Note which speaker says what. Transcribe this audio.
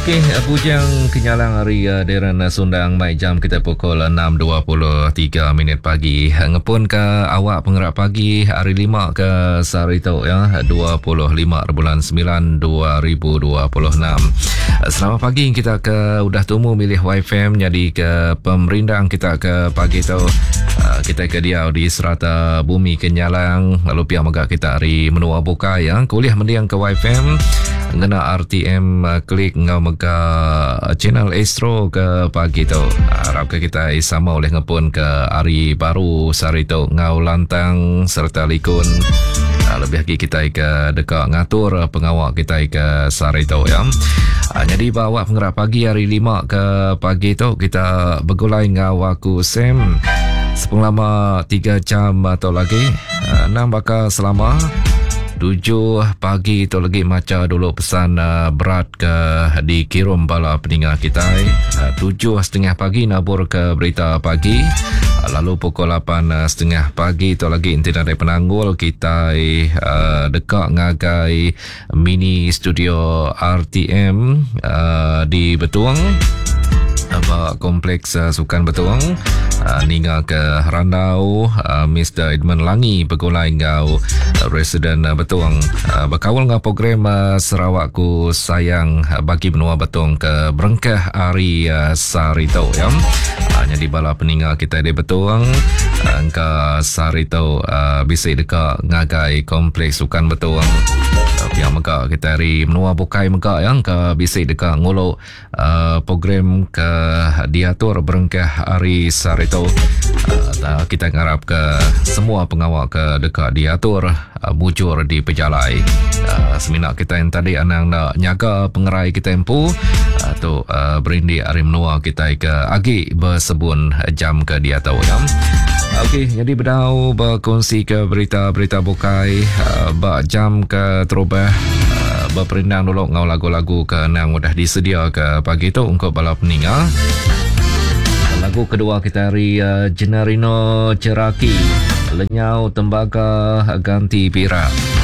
Speaker 1: Okey, Bujang Kenyalang ari Darren Sundang mai jam kita pukul 6.23 minit pagi. Ngepun ke awak pengerak pagi hari 5 ke sehari tu ya, 25 bulan 9 2026. Selamat pagi kita ke udah tumu milih YFM jadi ke pemerindang kita ke pagi tu. Kita ke diau di serata bumi Kenyalang lalu pia mega kita ari menua bukai ya. Kuliah mendiang ke YFM ngena RTM eh, klik enggau mega channel Astro ke pagi tu. Harap ke kita sama oleh ngepun ke hari baru sehari tu enggau lantang serta likun. Ah, lebih lagi kita ke deka ngatur pengawa kita ke sehari tu ya. Ah, jadi bawa pengerak pagi hari 5 ke pagi tu kita begulai enggau aku Sam sepengelama 3 jam atau lagi. Ah, enam baka selama 7 pagi tu lagi macha dulu pesan uh, berat ke dikirum bala peninga kita. Uh, 7.30 pagi nabur ke berita pagi. Uh, lalu pukul 8.30 pagi tu lagi inti nadai penanggul kita uh, deka ngagai mini studio RTM uh, di Betung ba kompleks uh, Sukan Betung uh, ninga ke randau uh, Mr. Edmund Langi begulai enggau Residen uh, Betung uh, bekaul enggau program uh, Sarawakku Sayang uh, bagi menua Betung ke berengkah hari uh, sehari tu ya. Uh, jadi bala peninga kita di Betung uh, engka sehari tu uh, bisi deka ngagai kompleks Sukan Betung. Uh, pia mega kita hari menua bukai mega ya engka bisi deka ngulu uh, program ke diatur berengkah hari sehari tu. Uh, kita ngarap ke semua pengawa ke deka diatur uh, mujur di pejalai. Uh, semina kita yang tadi anang nak nyaga pengerai kita empu uh, tu uh, berindik hari menua kita ke agi bersebun jam ke diatu ya. Okey, jadi bedau berkongsi ke berita-berita bukai uh, ba jam ke terubah Beperindang dulu enggau lagu-lagu ke endang udah disedia ke pagi tu ungkup bala peninga. Lagu kedua kita ari uh, Jenarino Ceraki, Lenyau Tembaga Ganti Pirak.